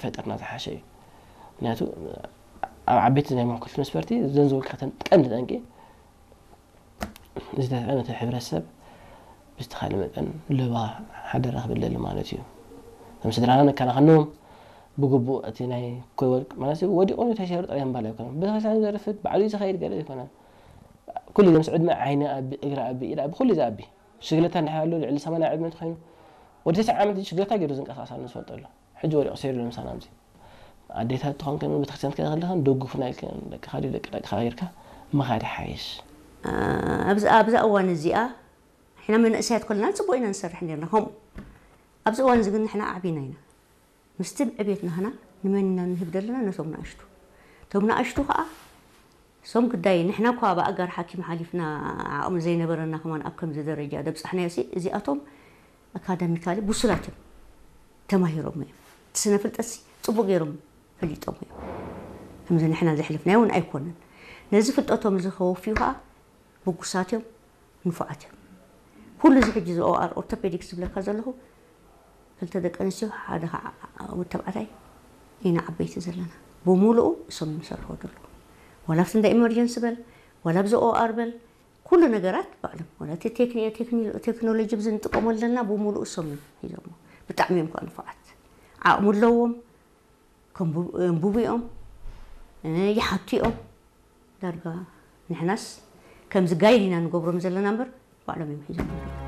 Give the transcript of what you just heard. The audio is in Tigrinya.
ፈጠርና ዝሓሸ እዩ። ምክንያቱ ኣብ ዓበይቲ ናይ መወከልቲ መስፈርቲ ዘን ዝወከተን ቀንዲ ጠንቂ ዝተጠቐመ እቲ ሕብረተሰብ ብዝተኻለ መጠን ለባ ሓደራ ክብል ደሊ ማለት እዩ። ከም ስድራና ነከናኸኖም ብግቡእ እቲ ናይ ኮይ ወርቅ ማለት ወዲቑ ተሸሩ ጥራይ ምባል ኣይኮነን። ብተመሳሳሊ ዘርፍት ባዕሉ እዩ ዝኸይድ ገለ ኣይኮነን። ኩሉ ምስ ዕድመ ዓይኒ ኣቢ እግሪ ኣቢ ኢድ ኣቢ ኩሉ እዚ ኣቢ ሽግለታ እንድሕር ኣሎ ልዕሊ ሰማንያ ዕድመ እንተኾይኑ ወዲ ተስዓ ዓመት ሽግለታ ገይሩ ዝንቀሳቀስ ኣሎ ንዝፈልጦ ኣሎ። ሕጂ ወዲቑ ሰይሩ ለምሳና ኣብዚ ኣዴታት ትኾን ከም ቤተክርስትያን ትከደ ከለኻ ደጉፍና ኢልካ ደቅኻ ድዩ ደቂ ደቅኻ ጌርካ ምኻድ ይሓይሽ። ኣብዚ ኣብዛ እዋን እዚኣ ንሕና መንእሰያት ኮለና ጽቡቅ ኢና ንሰርሕ ነርና ከምኡ ኣብዚ እዋን እዚ ግን ንሕና ኣዕቢና ኢና ምስቲ ዕቤት ናህና ንመን ኢና ንህብ ዘለና ነቶም ንኣሽቱ እቶም ንኣሽቱ ከዓ ሶም ግዳይ ንሕና እኳ ብኣጋር ሓኪም ሓሊፍና ዓቕሚ ዘይነበረና ከማን ኣብ ከምዚ ደረጃ ደብፃሕናዮ ሲ እዚኣቶም ኣካዳሚካሊ ብሱላት እዮም ተማሂሮም እዮም እቲ ስነ ፍልጠት ሲ ፅቡቅ ገይሮም ፈሊጦም እዮም ከምዚ ንሕና ዘሕልፍናዮ እውን ኣይኮነን ነዚ ፍልጠቶም እዚ ከወፍዩ ከዓ ብጉሳት እዮም ንፉዓት እዮም ኩሉ እዚ ሕጂ እዚ ኦኣር ኦርቶፔዲክስ ዝብለካ ዘለኹ ክልተ ደቂ ኣንስትዮ ሓደ ከዓ ወዲ ተባዕታይ ኢና ዓበይቲ ዘለና ብምሉኡ እሶም እዮም ዝሰርሕዎ ዘለዉ ዋላ ኣብቲ እንዳ ኢመርጀንሲ በል ዋላ ኣብዚ ኦኣር በል ኩሉ ነገራት ባዕሎም ዋላ እቲ ቴክኒ- ቴክኒ- ቴክኖሎጂ ብዚ ንጥቀመሉ ዘለና ብምሉኡ እሶም እዮም ሒዞሞ ብጣዕሚ እዮም ከዓ ንፉዓት ዓቕሚ ኣለዎም ከንብቡ እዮም ይሓቱ እዮም ዳርጋ ንሕናስ ከምዚ ጋይድ ኢና ንገብሮም ዘለና እምበር ባዕሎም እዮም ሒዞም